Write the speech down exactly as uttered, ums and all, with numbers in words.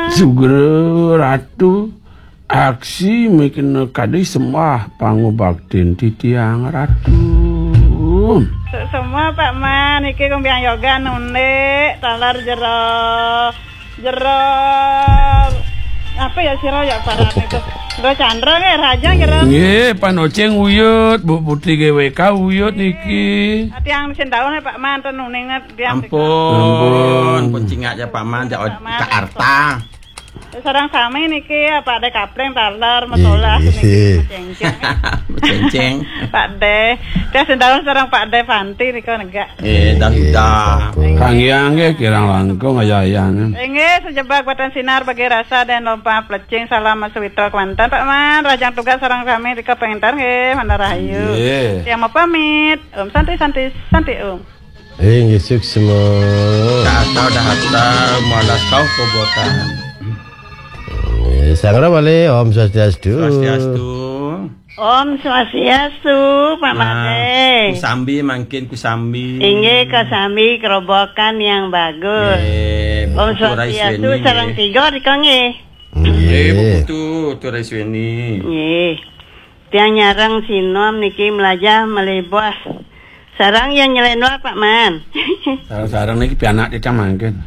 Sugra Ratu, aksi mikna kadi sembah pangubaktin titiang Ratu. Semua Pak Man, iki kumbiang yoga nundé, taler jero, jero, apa ya sira ya Pak Ran itu? Jero Chandra nggih, Raja jero. Nggih, Pak Noceng uyut, Bu Putri G W K uyut niki. Tiang sing taun Pak Man ten uning tiang. Ampun, ampun. Pun cingak ya Pak Man, ya Pak Man. Ka Arta. Sareng sami niki ya, Pak De Kapleng taler, Matolah niki, Cengceng. Cengceng. Pak De. Tiang sing taun sareng Pak De Fanti nika negak. Eh, dah, dah. Kanggiang nggih kirang langkung ayah-ayahnya. Inggih, sejebak batan sinar bagi rasa dan lompa plecing salam Mas Wito kemanten Pak Man, rajang tugas sareng sami nika pengintar nggih, Mandar Rahayu. Nggih. Tiang mau pamit. Om Santi, Santi, Santi Om. Inggih, suksma. Dah hatta, dah hatta, malas kau kobokan. Eh, Sang Rawali, Om Swastiastu. Swastiastu. Om Swastiastu, Pak Made. Kusambi, mangkin kusambi. Inggih, kusambi kerobokan yang bagus. Nggih, Om Swastiastu, sareng tiga nika nggih. Nggih, Bu Putu, Turai Sweni. Nggih. Tiang nyareng sinom niki melajah melebah. Sarang yang nyelenor, Pak Man. Sarang-sarang niki pianak titiang mangkin.